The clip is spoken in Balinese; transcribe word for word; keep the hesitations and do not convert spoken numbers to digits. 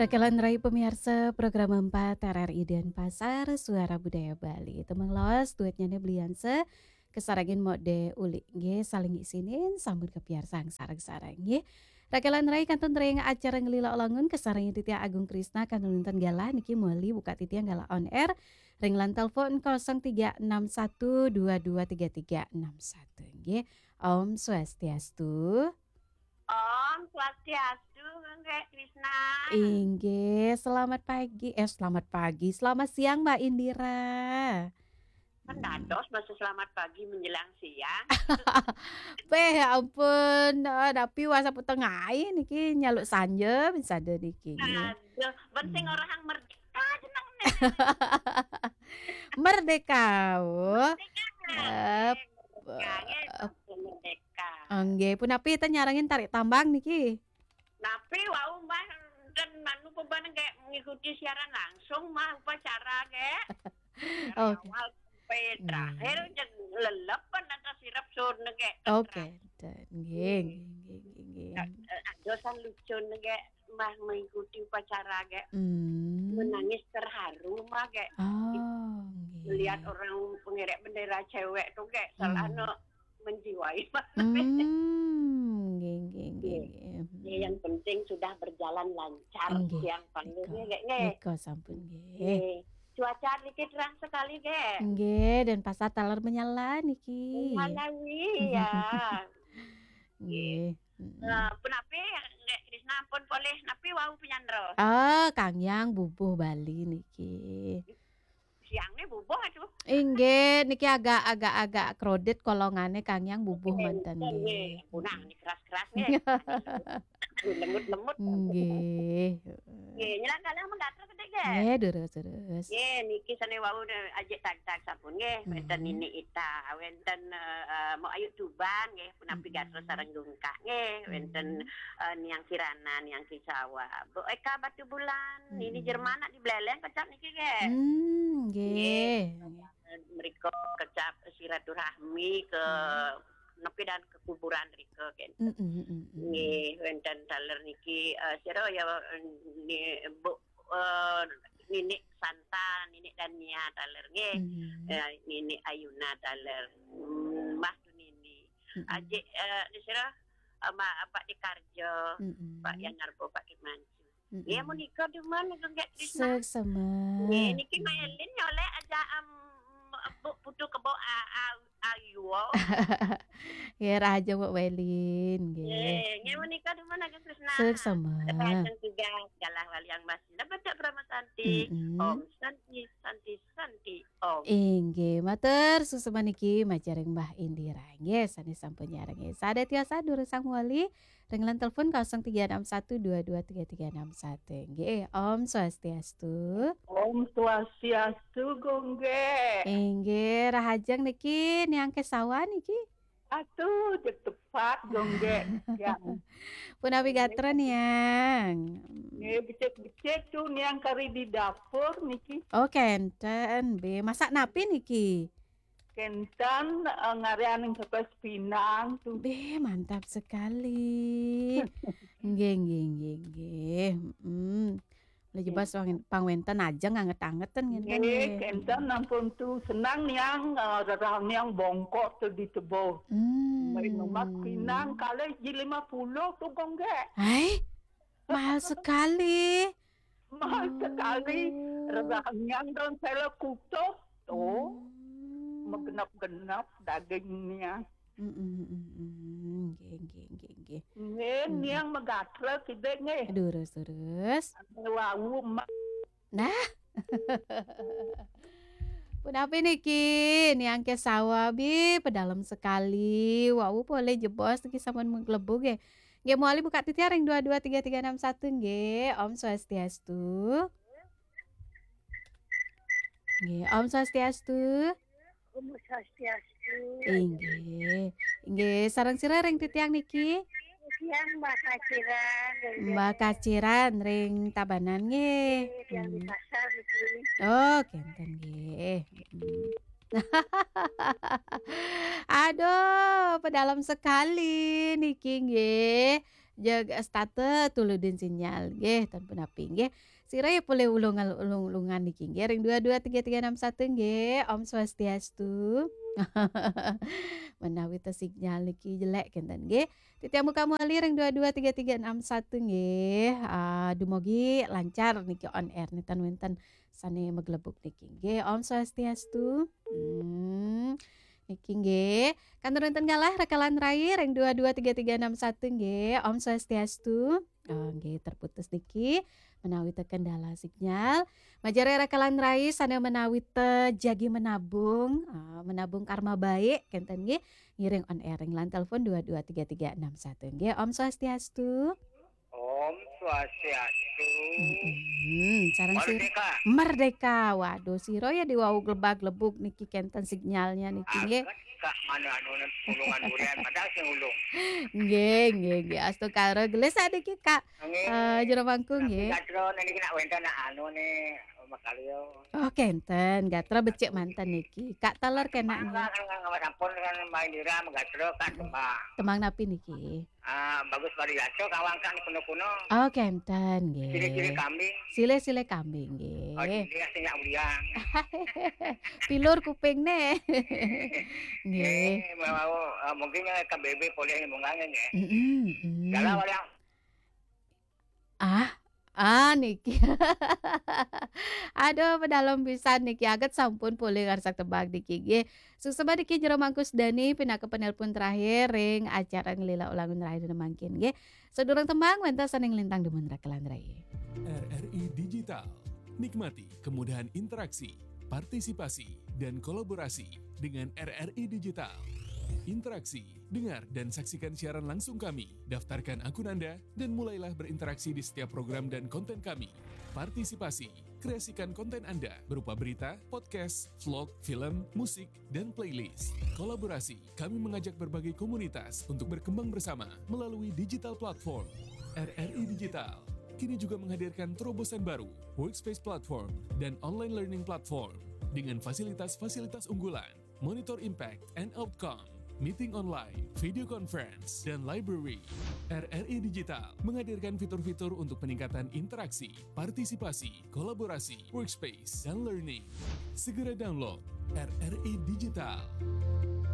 Rakelan rai pamiarsa program empat R R I Denpasar, Suara Budaya Bali. Tembang lawas duetnyane Belianse, kasarengin Mode Uli. Nggih, saling isinin, sampun kapiarsang sareng-sareng, nggih. Rakelan rai kantun ring acara Ngelila Langun, kasarengin titiang Agung Krisna, kantun wenten galah niki muli buka titiang galah on air. Ring line telepon kosong tiga enam satu dua dua tiga tiga enam satu, nggih. Om Swastiastu. Om Swastiastu, Nggih Krisna. Inggih, selamat pagi. Eh, selamat pagi. Selamat siang, Mbak Indira. Kan dados masa selamat pagi menjelang siang. Beh, ya ampun. Eh, tapi wasa peteng ae niki nyaluk sanja bisa ada niki, nggih. Aduh, ben sing Hmm. orang merdeka jeneng. Merdeka, oh. Merdeka. Eh, Merdeka, nggih, eh, sampun merdeka. Nggih, punapi ten nyarengin tarik tambang niki? Napi wau, Mbah, ten anu pembaneng kayak mengikuti siaran langsung mah upacara kayak. Dari Oke. awal sampai Nggih. terakhir, jeg lelepen ada sirep sun kayak Oke, terang. Nggih, Hmm. nggih, nggih, nggih, nggih. Nah, eh, adosan lucu kayak mah mengikuti upacara kayak Hmm. menangis terharu mah kayak Oh, nggih. melihat orang pengerek bendera cewek tuh kayak salah Hmm. no menjiwai. Hmm, nggih, nggih, nggih, Nggih. nggih. Ya, yang penting sudah berjalan lancar Nggih. siang panggilnya Nika. kayak nggih. Nika sampun nggih. Nggih. Cuaca niki terang sekali nggih. Nggih, Denpasar taler menyala niki. Menyala wi ya. Nggih. Mm-mm. Eh, punapi nggih Krisna ampun polih napi wau penyandra. Ah, Kang Yang bubuh Bali niki. Siangnya bubuh aduh. Inggih, niki agak, agak, agak crowded kolongane Kang Yang bubuh Enten, manten nggih. nggih. Punah niki keras-keras nggih. Aduh, lemut-lemut. Nggih. Nggih, nyelang kalih menggatur gede nggih. Nggih, terus, terus. Nggih, niki sane wau ne ajik tag-tag sampun nggih. Wenten Hmm. Nini Ita, wenten eh, eh, Mok Ayu Tuban nggih, punapi Hmm. gatus sareng dungkah nggih, wenten Hmm. eh, Niang Kirana, Niang Kisawa, Bu Eka Batu Bulan, Nini Hmm. Jerman nak di Beleleng kecap niki nggih. Hmm, Nggih. nggih. Eh, mereka kecap silaturahmi ke Hmm. nepi dan ke kuburan rika kan. Mm, mm, mm, mm. Nggih, wenten taler niki eh, sira ya eh, ni Bu eh, Nini Santa, Nini Dania taler nggih. Mm. Eh, Nini Ayuna taler. Hmm, Mbah tu Nini. Mm, mm. Ajik eh, ni sira eh, Mbah Abak di Karjo, Mm, mm. Pak Yanarbo, Pak Kimancu. Mm, Nggih, mm. menika duman Agung Gek Krisna. Suksma. Nggih, niki Mailin nyolek aja em Bu Putu Kebo a a ayu. Nggih, rahaja Mbok Welin, nggih. Nggih, nggih menika duman Agung Krisna. Suksma. Rahaja juga galah waliang Mas Nda Bedak Brahma Santi. Mm-mm. Om Santi, Santi, Santi, Om. Inggih, matur suksma niki majaring Mbah Indira. Nggih, sane sampun nyareng. Sada tiasa durusang wali. Ring line telepon kosong tiga enam satu dua dua tiga tiga enam satu. Nggih, Om Swastiastu. Om Swastiastu, Gonggek. Inggih, rahajeng niki Niang Kesawa niki. Atuh, jeg tepat, Gonggek. Yang. Punapi gatra, Niang? Nggih, becik-becik tuh Niang kari di dapur niki. Oh, kenten, be. Masak napi niki? Kenten eh, ngarianing pepes pinang tuh. Be, mantap sekali. Nggih, nggih, nggih, nggih. Mm. Lah jebas pang-, pangwenten aja nganget-angeten ngene kan, Nggih, nggih. Kenten ampun tuh senang Niang eh, rerang Niang bongkok tuh di tebo. Hmm. Main lemak pinang kali ji lima puluh tuh, Gonggek. Hai, mahal sekali. Mahal sekali. Oh. Rerang Niang dan sela kutuh tuh. Hmm. Megenap-genap dagingnya. Mm, mm, mm, mm. Nggih, nggih, nggih, nggih. Nggih, Mm. Niang megatra kidek nggih. Durus, durus. Wau ma- Nah. Punapi niki, Niang Kesawa bi, pedalem sekali. Wau polih jebos niki sampun mengklebu nggih. Nggih, mawali buka titiang ring dua dua tiga tiga enam satu nggih. Om Swastiastu. Nggih, Om Swastiastu. Om Swastiastu. Inggih. Inggih, sareng sira ring titiang niki? Titiang Mbah Kaciran, nggih. Mbah Kaciran ring Tabanan nggih. Nggih, titiang di Hmm. pasar niki. Oh, kenten nggih. Hmm. Aduh, pedalem sekali niki nggih. Jeg starte tuludin sinyal nggih, ten punapi nggih. Sira ya polih ulung-ulungan niki nggih, ring dua dua tiga tiga enam satu nggih. Om Swastiastu. Menawi te sinyal niki jelek kenten nggih. Titiang buka malih ring dua dua tiga tiga enam satu nggih. Ah, dumogi lancar niki on air nenten wenten sane maglebug niki nggih. Om Swastiastu. Hmm. Niki nggih. Kantun wenten galah rakalan rai ring dua dua tiga tiga enam satu nggih. Om Swastiastu. Oh, nggih, terputus niki menawi te kendala sinyal. Majeng rakalan rai sane menawi te jagi menabung, ah, menabung karma baik kenten nggih. Ngiring on air ring line telepon dua dua tiga tiga enam satu nggih. Om Swastiastu. Om Swastiastu. Hmm, sareng sir Merdeka. Merdeka. Waduh, sira ya diwau glebag-glebug niki kenten sinyalnya niki nggih. Aget Kak, mana anu ulungan durian padahal sing ulung. Nggih, nggih, nggih. Astungkara gelis niki Kak. Nggih. Eh, Jero Mangku Tapi nggih. gatra niki nak wenten nak anu ni makalio. Oh, kenten. Gatra becik manten niki. Kak taler kena nggih. Mangga kan kan sampun kan main dira gatra kan tembang. Tembang napi niki? Ah, bagus variato kawang kan kuno-kuno. Oh, kenten Ciri-ciri nggih. Kambing. Silih-silih Kambing nggih. Oh, dia sing nak ulian. Pilur kuping ne. Nggih. Eh, mau ah, mungkin yang K B B boleh mungkin ya. Mm-mm, mm. Dalam orang Ah, ah niki. Aduh, pedalem pisan niki. Aget sampun polih ngarsak tembang niki nggih. Suksma niki Jero Mangku Sudani pinaka penelpon terakhir ring acara Ngelila Ulangun Rahayu mangkin nggih. Sadurung tembang wenten sane nglintang dumun rakalan rai. R R I Digital. Nikmati kemudahan interaksi, partisipasi, dan kolaborasi dengan R R I Digital. Interaksi, dengar dan saksikan siaran langsung kami. Daftarkan akun Anda dan mulailah berinteraksi di setiap program dan konten kami. Partisipasi, kreasikan konten Anda berupa berita, podcast, vlog, film, musik, dan playlist. Kolaborasi, kami mengajak berbagai komunitas untuk berkembang bersama melalui digital platform. R R I Digital kini juga menghadirkan terobosan baru, Workspace Platform dan Online Learning Platform dengan fasilitas-fasilitas unggulan, monitor impact and outcome, meeting online, video conference, dan library. R R I Digital menghadirkan fitur-fitur untuk peningkatan interaksi, partisipasi, kolaborasi, workspace, dan learning. Segera download R R I Digital.